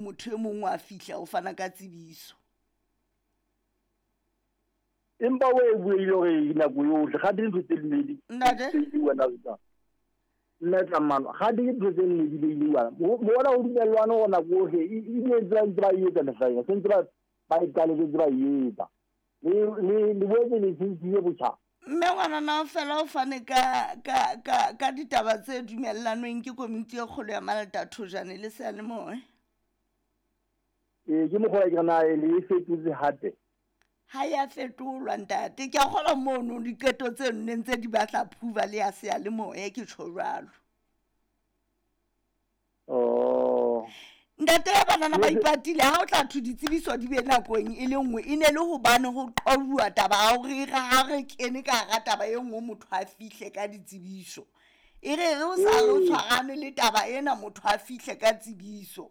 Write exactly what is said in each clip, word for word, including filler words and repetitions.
Motho e mong wa fihla o fana ka tsebiso. Empa o e buile hore nako yohle ga di ntho tse dumedi. Ntate? Wena tsa. Nna tla mano ga di ntho tse nne di beile wena. Bona o dumellwana hore nako yohle e ne ntse ba ba etsa mehlaena. Se ntse ba ba e qaletse ba etsa. Le le le boetse le tshintshile botjha. Mme ngwana na fela o fane ka ka ka ka ditaba tse dumellanweng ke komiti e kgolo ya Maleta Thojane le seyalemoya. Ee, ke mokgwa ke na le fetotse hape. Ha ya fetolwa ntate, ke a kgolwa mono diqeto tse nne ntse di batla approval ya seyalemoya ke tjho jwalo. Oh. Ntate banana ba ipatile ha o tla thu ditsebiso di be nakong e le nngwe e ne le hobane ho qobuwa taba ya hore ha re kene ka hara taba e nngwe motho a fihle ka ditsebiso. E re re o sa re o tshwarane le taba ena motho a fihle ka tsebiso.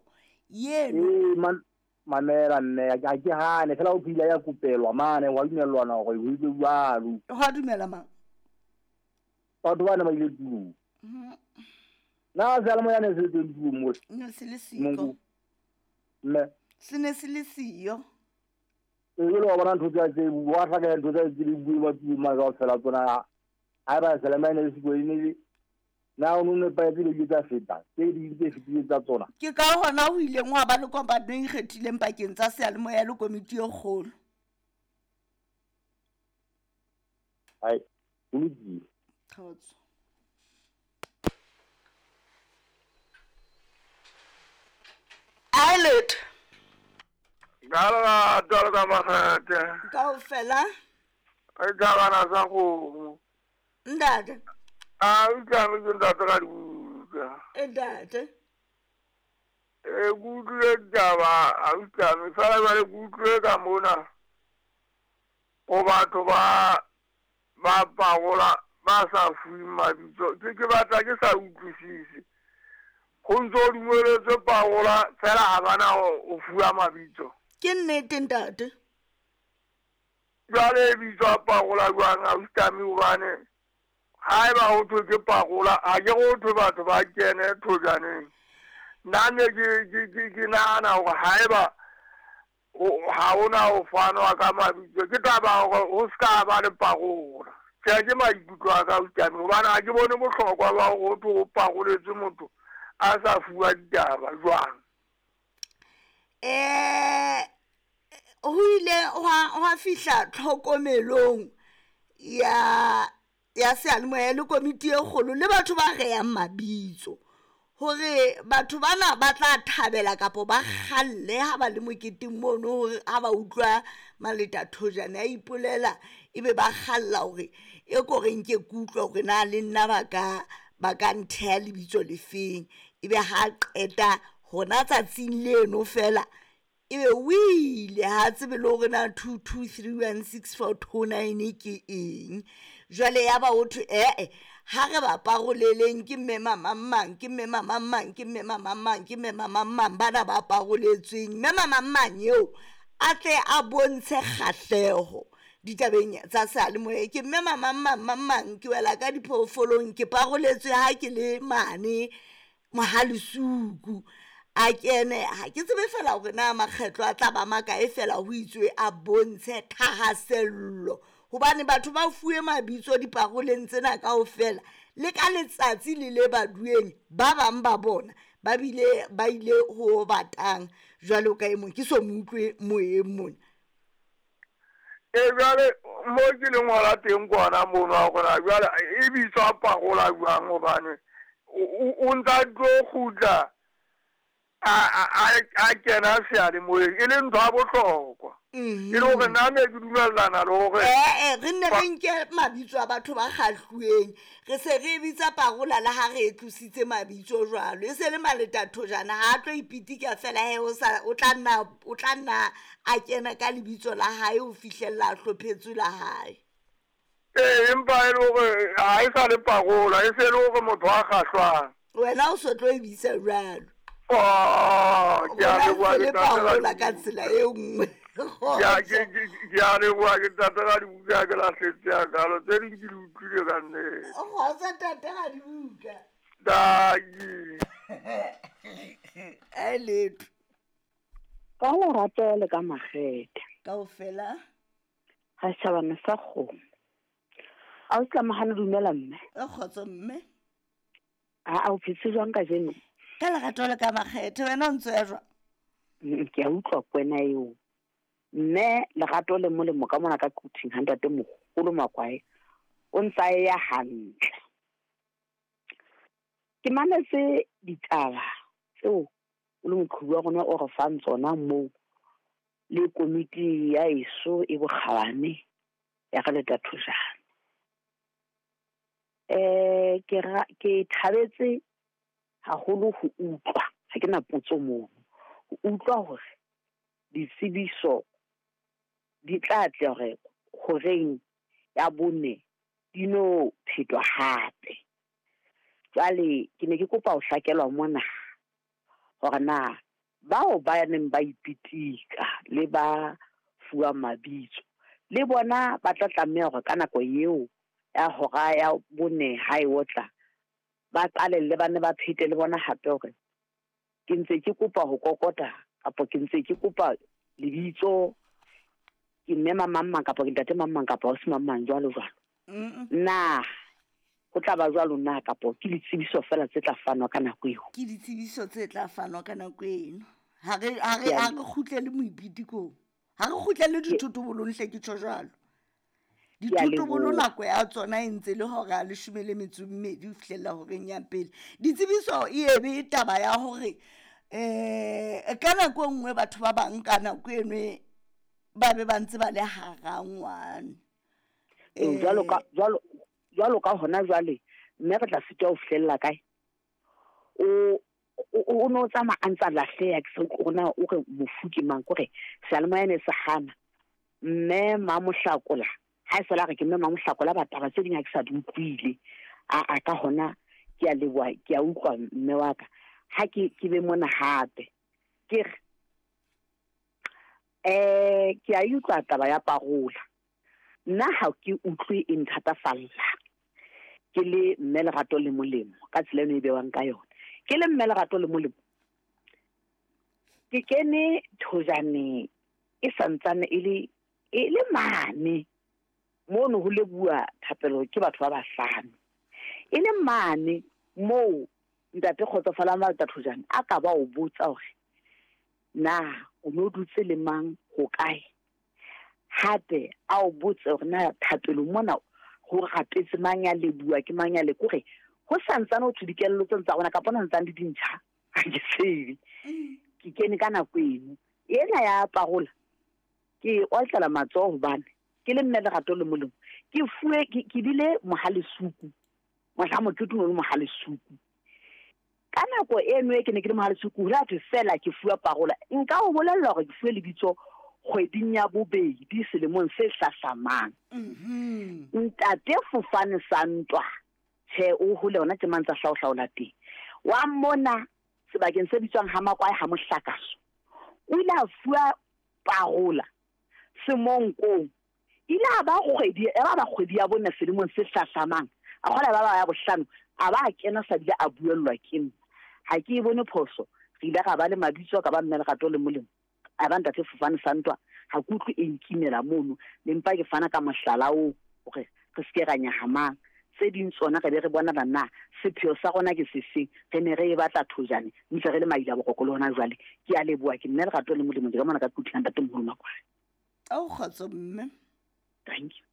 Yeno. Ee, man mamela mme ha ke hane fela o phila ya kopelwa mane wa dumellwana hore ho itse jwalo. Hwa dumela mang? Batho bana ba ile tulong. Na seyalemoya ne se le teng tulong mole? Ne se le siko. Mme. Se ne se le siyo. Ee, jwale wa bona ntho tsa tse wa hlaka ntho tsa tse di buiwa tulong mane kaofela tsona. Haeba seyalemoya ne le siko e ne le na o ne nepahetse le tsa feta tse ding tse fetileng tsa tsona. Ke ka hona ho ileng hwa ba le kopano e ikgethileng pakeng tsa seyalemoya le komiti e kgolo. Hai, ho lokile. Kgotso. Islet. Gala dala makgete. Kaofela. E gabana sa kgomo. Ntate. A utlwa ke ntate ga dibuka. E ntate. E kutlwe taba a utlwa fela jwale ke utlwe ka mona. O batho ba ba pagola ba sa fuwe mabitso. Ke ke batla ke sa utlwisise. Ho ntso dumeletswe pagola fela ha bana ho fuwa mabitso. Ke nnete ntate. Jwale e bitswa pagola jwang a utlwa hobane haeba ho thwe ke pagola ha ke ho thwe batho ba kene thojaneng. Nna ne ke ke ke nahana hore haeba ha hona ho fanwa ka mabitso ke taba hore ho ska ba le pagola. Tjhe ke maikutlo a ka utlwa hobane ha ke bone bohlokwa ba hore ho thwe ho pagoletswe motho a sa fuwa ditaba jwang. Eh ho ile hwa fihla tlhokomelong ya ya seyalemoya le komiti e kgolo le batho ba reyang mabitso hore batho bana ba tla thabela kapa ba kgalle ha ba le moketeng mono hore ha ba utlwa Maleta Thojane a ipolela ebe ba kgalla hore e ko re nke kutlwa hore na le nna ba ka ba ka ntheha lebitso lefeng ebe ha qeta hona tsatsing leno fela ebe o ile ha tsebe le hore na two two three one six four two nine ke eng. Jwale ya ba ho thwe ee ha re ba paroleleng ke mme mamang ke mme mamang ke mme mamang ke mme mamang bana ba paroletsweng mme mamang eo a tle a bontshe kgahleho ditabeng tsa seyalemoya ke mme mamang mamang ke wela ka diphoofolong ke paroletswe ha ke le mane Mohalisuku a kene ha ke tsebe fela hore na makgetlo a tla ba makae fela ho itswe a bontshe thahasello hobane batho ba fuwe mabitso diparoleng tsena kaofela le ka letsatsi le le badueng ba bang ba bona ba bile ba ile ho batang jwalo ka e mong ke so mo utlwe moyeng mona. E jwale mo ke leng hona teng kwana mono wa rona jwale e bitswa pagola jwang hobane o ntsa tlo kgutla a a a kena seyalemoyeng e le ntho ya bohlokwa. E le hore nna ne ke dumellana le hore ee re nne re nke mabitso a batho ba kgahluweng re se re bitsa parola le ha re e tlositse mabitso jwalo e se le Maleta Thojane ha a tlo ipitika fela he o sa o tla nna o tla nna a kena ka lebitso la hae ho fihlella a hlophetswe la hae. Ee empa e le hore ha e sa le parola e se le hore motho a kgahlwang wena o so tlo e bitsa jwalo. Oh, ke a leboha le parola ka tsela e nngwe. Ke ke ke a leboha ke tata ga dibuka ke lahletse ya kalo tse ding ke di utlwile ka nnete. Kgotsa tata ga dibuka. Dankie. Ai letho. Ka lerato le ka makgethe. Kaofela. Ga setšhabana sa kgomo. A o tlamahane dumela mme. E kgotso mme. A a o phetse jwang kajeno? Ka lerato le ka makgethe wena o ntse ya jwang? Ke a utlwa kwena eo. Mme lerato le molemo ka mona ka Quthing ha ntate moholo Makwae o ntsa e ya hantle. Ke mametse ditaba tseo o le moqhubu wa rona o re fang tsona moo le komiti ya eso e bokgabane ya re leta thojana. Eh ke ra ke thabetse haholo ho utlwa, ha ke na potso moo, ho utlwa hore ditsebiso di tla tle hore horeng ya bone di no phetwa hape. Jwale ke ne ke kopa ho hlakelwa mona hore na bao ba neng ba ipitika le ba fuwa mabitso le bona ba tla tlameha hore ka nako eo ya hora ya bone ha e otla ba qalelle ba ne ba phete le bona hape hore ke ntse ke kopa ho kokota kapa ke ntse ke kopa lebitso ke mme mamang kapa ke ntate mamang kapa o se mamang jwalo jwalo. Na ho tla ba jwalo na kapa ke ditsebiso fela tse tla fanwa ka nako eo? Ke ditsebiso tse tla fanwa ka nako eno. Ha re ha re ha re kgutlele moipitikong. Ha re kgutlele dithotobolong hle ke tjho jwalo. Dithotobolo nako ya tsona e ntse le hora ya leshome le metso e mmedi ho fihlella horeng ya pele. Ditsebiso e ebe taba ya hore eh ka nako e nngwe batho ba bang ka nako eno ba be ba ntse ba le hara ngwane. Eh jwalo ka jwalo jwalo ka hona jwale mme re tla sitwa ho fihlella kae? O o no tsamaya a ntsa lahleha ke se rona o re mofu ke mang kore seyalemoya ne se hana mme Mamohlakola ha e sala re ke mme Mamohlakola ba taba tse ding ha ke sa di utlwile. A a ka hona ke a leboha, ke a utlwa mme wa ka ha ke ke be mona hape ke re eh ke a utlwa taba ya parola. Nna ha ke utlwe e nthatafalla ke le mme lerato le molemo ka tsela eno e bewang ka yona. Ke le mme lerato le molemo ke kene thojane e santsane e le e le mane mono ho lebua thapelo ke batho ba bahlano. E le mane moo ntate Kgotsofalang ba thojane a ka ba o botsa hore na o no dutse le mang ho kae, hape a o botse hore na thapelo mona ho rapetse mang ya lebua ke mang ya le kore ho santsane ho thwe dikelello tseno tsa rona kapa na ntsane di dintjha ha ke tsebe. Ke kene ka nako eno ena ya parola ke otlela matsoho hobane ke le mme lerato le molemo ke fuwe ke bile mohalesuku mohla mokete o le mohalesuku. Ka nako eno e ke ne ke le mohalesuku ho la thwe fela ke fuwa parola. Nka o bolella hore ke fuwe lebitso kgweding ya bobedi selemong se hlahlamang. Ntate Fofane sa ntwa tjhe o hole hona tje mantsa hlaohlaola teng wa mona sebakeng se bitswang ha Makwae ha Mohlakaso o ile a fuwa parola semonkong. Ile a ba kgwedi e ba ba kgwedi ya bone selemong se hlahlamang a kgola ba ba ya bohlano a ba kena sa bile a buellwa ke nna. Ha ke e bone phoso re ile ra ba le mabitso ka ba mme lerato le molemo a ba ntate Fofane sa ntwa ha ke utlwe e nkimela mono le mpa ke fana ka mohlala oo hore re se ke ra nyahamang. Tse ding tsona re be re bona na sepheo sa rona ke sefeng, re ne re e batla thojane ntse re le maila boroko le hona jwale. Ke a leboha ke mme lerato le molemo ke ka mona ka Quthing ntate moholo Makwae. Ao kgotso mme. Thank you.